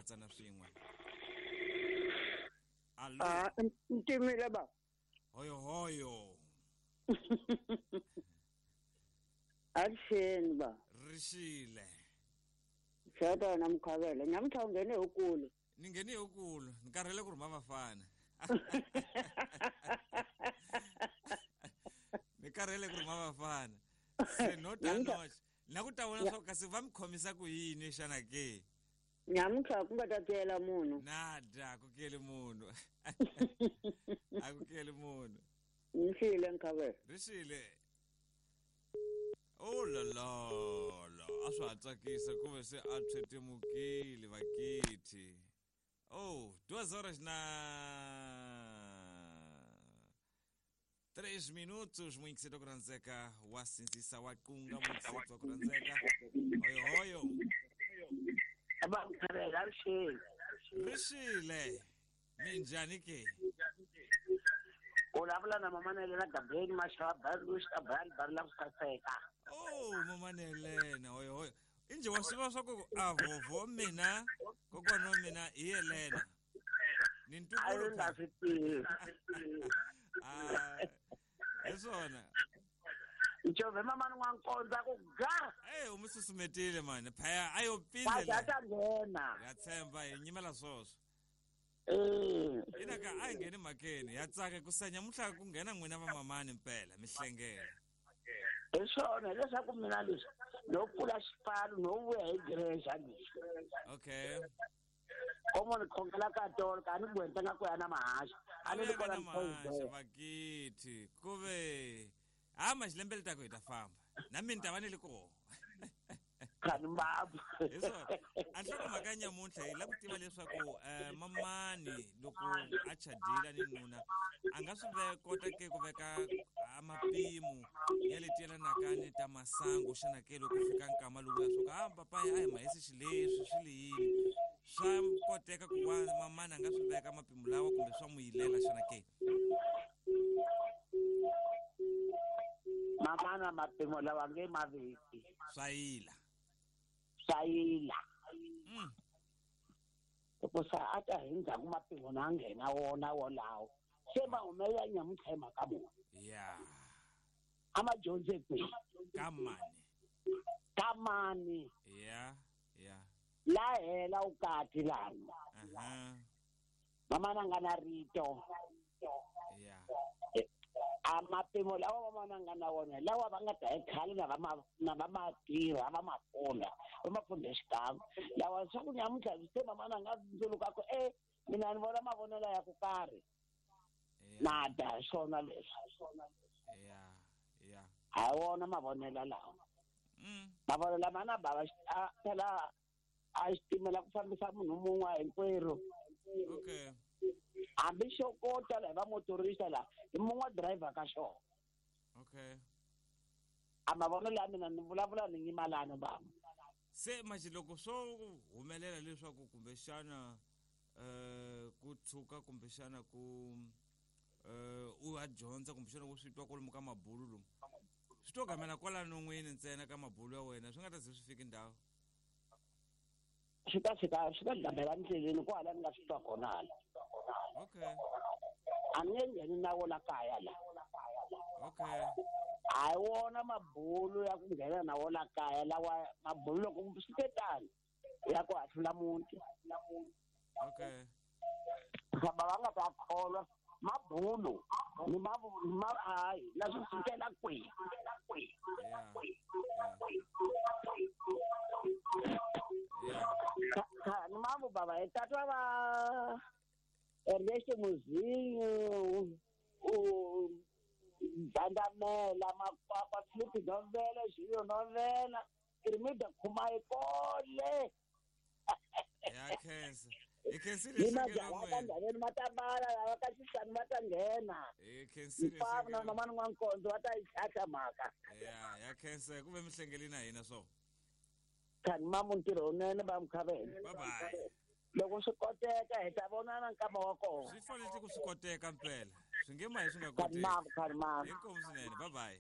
katsana swin'we. Allo? Ah, ntimile ba. Hoyo hoyo. Avuxeni ba. Rixile. Xata wena Mukhavela, nyamuntlha u nghene hi kulu. Ni nghene hi kulu, ni karhele ku rhuma vafana. Ni karhele ku rhuma vafana. Se no ta noxe. Na ku ta vona swa kasi va mi khomisa ku yini xana ke? Nyamuntlha ku nga ta tiyela munhu. Nada, ku kele munhu. A ku kele munhu. Nxile Mukhavela. Rixile. Oh la la la, a swa ha tsakisa ku ve se a tshwetemukile vakithi. Oh, 2 horas na 3 minutos, muyingiseti wa ku rhandzeka wa sindzisa wa qunga muyingiseti wa ku rhandzeka. Hoyo hoyo. Va Mukhavela, rixile. Rixile. Minjhani ke? U vulavula na mama Nelena Gabeni Mashava Bari Bari Bari la ku saseka. Oh, mama Nelena, hoyo hoyo. Injhe wa swi tiva swa ku a vhovho mina kokwana wa mina hi Yelena. Ni A ntukulu yi nga phela. swi tivi. Ah, hi swona. Nchovhe mama ni n'wankondza ku ga. Eh, u mi susumetile mani. Phaya a yo Wa pindle. dya ta nghena. Ya tshemba hi nyimela swoswo. Eh. Ina ka a hi ngheni mhakeni ya tsaka ku sa nyamuntlha ku nghena n'wina vamamani mpela mi hlengela. Hi swona hileswaku mina leswi no pfula xipano no vuya hi grexa leswi. Okay. Komo ni khongela ka tolo ka ni gwenta nga ku ya na mahaxa. A ni li Ka kona na mahaxa ni vakithi ku ve ha maxilembe letaku hi ta famba na mina ni ta va ni li koho. Khani mbabu. Hi swona. A nhlokomhaka ya nyamuntlha hi lava ku tiva leswaku mamani loko a chadile ni nuna a nga swi kota ke ku veka a mapimo ya leti yelanaka ni ta masangu xana ke loko fika nkama lowuya swo ka a papaya a hi mahisi xileswi swi li yini swa koteka ku wa mamani a nga swi veka mapimo lawa kumbe swa n'wi yilela xana ke? Mamana mapimo lawa nge maveki. Swa yila. Swa yila. Hikusa a ta hi ndzhaku mapimo na nghena wona wolawo. Se ma humelela nyamuntlha hi mhaka muni. Ya. A ma dyondze kwihi? Ka mani. Ka mani. Ya, ya. La hela vukati lana. Aha. Mamana nga na rito. Ya. A mapimo lawa mamana nga na wona lawa va nga ta hi khale na va ma na va ma tirha va ma funda va ma funda xikan'we lawa swa ku nyamuntlha se mamana nga ndzuluka ku mina ni vona mavonelo ya ku karhi. Na da swona leswi. Ya, ya. Ha wona mavonelo lawa. Mavonelo lama na bava phela a xitimela ku fambisa munhu mun'we hinkwerhu. Okay. Hambi xo kota la hi va motorista la hi mun'we driver ka xona. Okay. A mavonelo ya mina ni vulavula ni nyimalano bava. Se manje loko swo humelela leswaku kumbexana ku tshuka kumbexana ku u ya dyondza kumbexana ku swi twa kwalomu ka mabulu lomu swi to gamela kwalano n'wini ntsena ka mabulu ya wena swi nga ta ze swi fiki ndhawu. Swi ta fika swi ta gamela ndleleni kwala ni nga swi twa kona hala. Okay. A ni nge ngheni na wona kaya la. Okay. A hi wona mabulu ya ku nghena na wona kaya lawa mabulu loko swi te tani ya ku hahlula muti. Okay. Famba va nga ta kholwa mabulu ni ma hayi na swi fikela kwihi. Yeah. Ni mambo baba hi tatwa va Ernesto Muzinho u Bandamela Makwakwa Filipe Novela Julio Novela Irmida Khumai kole. Ya khensa. Hi khensile Ni hlengelo majaha ka n'wina. ndhaveni ma ta bala lava ka xisani va ta nghena. Hi khensile Hinkwavo na hlengelo. mama n'wankondzo va ta yi tlhatlha mhaka. Ya, ya khensa ku ve mi hlengeli na hina swo. Khani mamu ntirho wunene va Mukhavela. Bye bye. Loko swi koteka hi ta vonana nkama wa kona. Swi fanele ku swi koteka mpela. Swi nge mahi swi nga Khani koteki. mamu, khani mamu. Inkomu swinene. Bye bye.